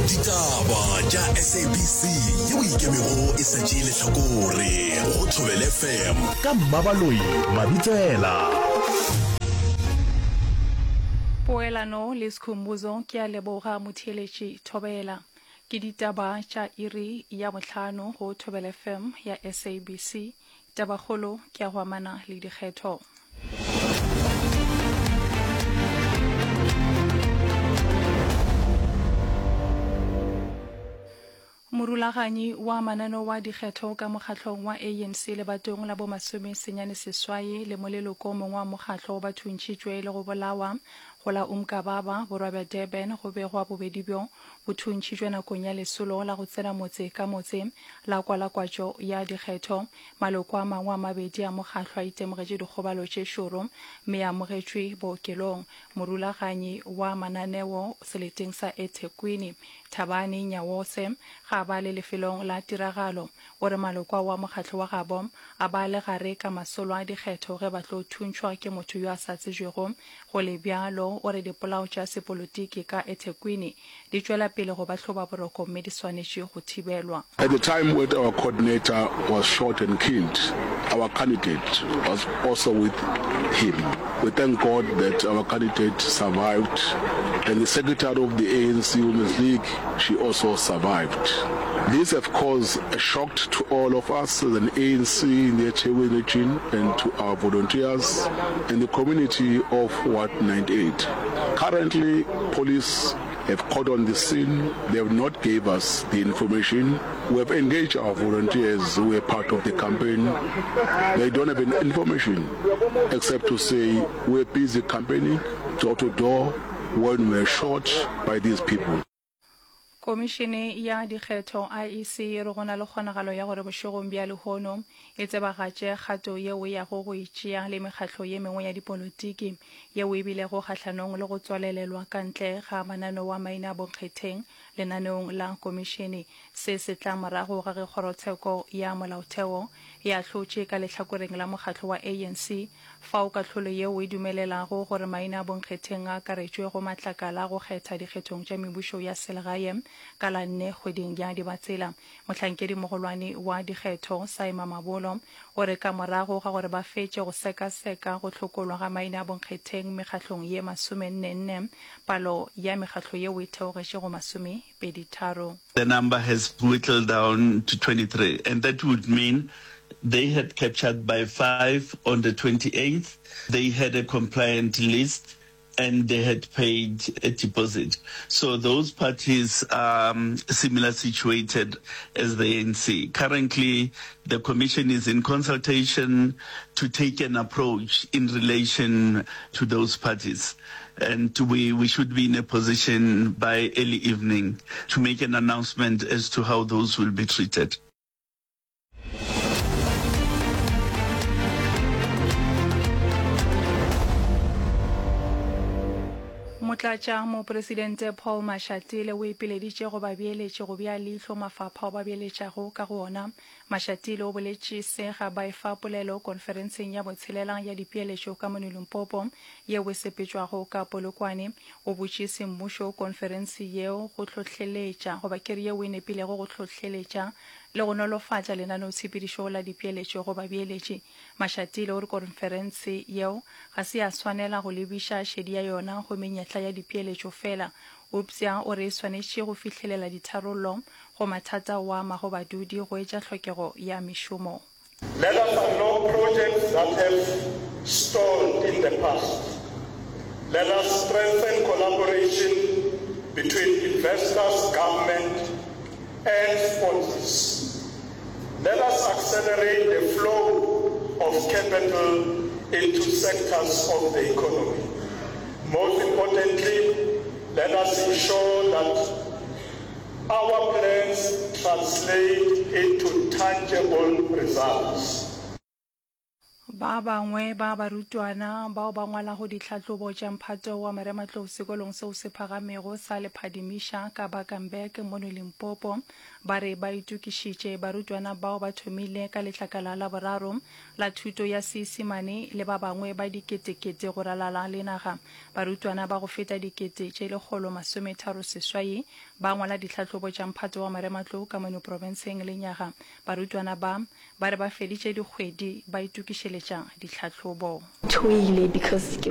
Ditaba tša SABC yeo e ikemego e sa tšee lehlakore go Thobela FM ka Mmabaloi Mabitsela. Poelano le Skhumbuzo ke a leboga motheeletši Thobela. Ke ditaba tša iri ya bohlano go Thobela FM ya SABC. Tabakgolo ke ya go amana le dikgetho. Morulaganyi wa mananeo wa dikgetho ka mokgahlong wa ANC lebatong la bo 98 le moleloko o mongwe wa mokgahlo ba thuntšhitšwe le go bolawa go la Umgababa, borwa bja Durban, go begwa bobedi bjo bo thuntšhitšwe nakong ya lesolo la go tsena motse ka motse la kwalakwatšo ya dikgetho. Maloko a mangwe a mabedi a mokgahlo a itemogetše dikgobalo tše šoro mme a amogetšwe bookelong. Morulaganyi wa mananeo seleteng sa eThekwini, Thabani Nyawose, ga a ba le lefelong la tiragalo. O re maloko ao a mokgahlo wa gabo a ba le gare ka masolo a dikgetho ge ba tlo thuntšhwa ke motho yo a sa tsebjego. Go le bjalo, o re dipolao tša sepolotiki ka eThekwini di tšwela pele go ba hloba boroko mme di swanetše go thibelwa. At the time when our coordinator was shot and killed, our candidate was also with him. We thank God that our candidate survived and the secretary of the ANC Women's League, she also survived. This have caused a shock to all of us as an ANC in the eThekwini region and to our volunteers in the community of Ward 98. Currently, police have caught on the scene. They have not gave us the information. We have engaged our volunteers who were part of the campaign. They don't have any information except to say we're busy campaigning door to door when we were shot by these people. Komišene ya Dikgetho, IEC, e re go na le kgonagalo ya gore bošegong bja lehono e tsebagatše kgato yeo e yago go e tšea le mekgatlo ye mengwe ya dipolotiki yeo e bilego kgahlanong le go tswalelelwa ka ntle ga mananeo a maina a bonkgetheng lenaneong la komišene. Se se tla morago ga ge Kgorotsheko ya Molaotheo e ahlotše ka lehlakoreng la mokgatlo wa ANC fao kahlolo yeo e dumelelago gore maina a bonkgetheng a akaretšwe go matlakala a go kgetha dikgethong tša mebušo ya selegae ka la nne kgweding ya Dibatsela. Mohlankedimogolwane wa dikgetho, Saima Mabolo, o re ka morago ga gore ba fetše go sekaseka go hlokolwa ga maina a bonkgetheng mekgahlong ye masomennenne, palo ya mekgahlo yeo e theogetše go masomepeditharo. The number has whittled down to 23 and that would mean they had captured by five on the 28th, they had a compliant list and they had paid a deposit. So those parties are similar situated as the ANC. Currently, the commission is in consultation to take an approach in relation to those parties. And we, we should be in a position by early evening to make an announcement as to how those will be treated. Motlatša Mopresidente Paul Mashatile o ipileditše go babeeletši go bea leihlo mafapha ao ba beeletšago ka go ona. Mashatile o boletše se ga ba efa polelo konferenseng ya botshelela ya dipeeletšo ka mono Limpopo yeo e sepetšwago ka Polokwane. O botše semmušo konferense yeo go hlohleletša goba ke re yeo e nepilego go hlohleletša le go nolofatša lenaneotshepedišo la dipeeletšo go babeeletši. Mashatile o re konferense yeo ga se ya swanela go lebiša šedi ya yona go menyetla ya dipeeletšo fela, eupša o re e swanetše go fihlelela ditharollo go mathata ao a amago badudi go etša hlokego ya mešomo. Let us unlock projects that have stalled in the past. Let us strengthen collaboration between investors, government and sponsors. Let us accelerate the flow of capital into sectors of the economy. Most importantly, let us ensure that our plans translate into tangible results. Ba bangwe ba barutwana bao ba ngwalago ditlhahlobo tša mphato wa marematlou sekolong seo se phagamego sa Lephadimiša ka Bakenberg mono Limpopo ba re ba itokišitše. Barutwana bao ba thomile ka letlakala la boraro la thuto ya Seisemane le ba bangwe ba diketekete go ralala le naga. Barutwana ba go feta dikete tše 138 ba ngwala ditlhahlobo tša mphato wa marematlou ka mono profenseng lenyaga. Barutwana ba Ba re ba feditše dikgwedi ba itokišeletša ditlhahlobo. Tšhoile because ke.